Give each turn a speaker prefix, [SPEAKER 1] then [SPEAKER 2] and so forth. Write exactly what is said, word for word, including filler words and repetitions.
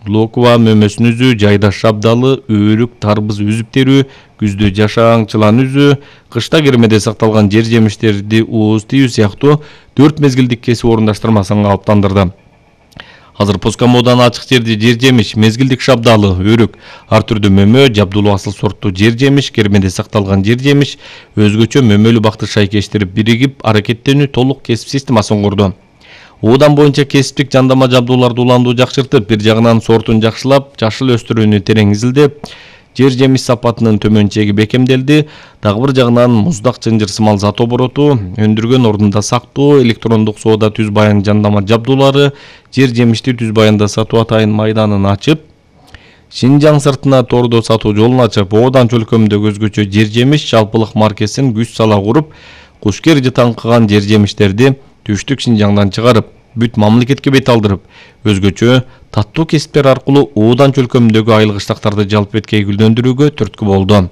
[SPEAKER 1] локва мөмөсүн үзүү, жайда шабдалы, өөрүк, тарбыз үзүп терүү, күздө жашаң чылан үзүү, кышта кермеде сакталган жер жемиштерди ууз тийүү сыяктуу төрт мезгилдик кесип орундаштырмасын калыптандырды. Азыр Поскомодон ачык жерди жер жемиш, мезгилдик шабдалы, өрүк, ар түрдүү мөмө, жабдулуу асыл сорттуу жер жемиш, кермеде сакталган жер жемиш, өзгөчө мөмөлүү бакты шайкештер биригип аракеттенүү толук кесип системасын курду. Уудан боюнча кесиптик жандама жабдууларды уландуу жакшыртып, бир жагынан сортун жакшылап, жашыл өстүрүүнү терең изилдеп, жер жемиш сапатынын төмөн чеги бекемделди. Дагы бир жагынан муздак чынжыр сымал зат обороту, өндүргөн ордунда сактоо, электрондук соода түз баян жандама жабдуулары, жер жемишти түз баянда сатуу атайын майданын ачып, Шинжаң сыртына тордо сатуу жолун ачып, Оодан өлкөмдөгү өзгөчө жер жемиш жалпылык маркесин күч сала куруп, кушкер жытаңкыган жер жемиштерди түштүк Шинжаңдан чыгарып, бүт мамлекетке бет алдырып, өзгөчө таттуу кесиптер аркылуу Оодан өлкөмдөгү айыл кыштактарды жалпы эткей гүлдөндүрүүгө түрткү болду.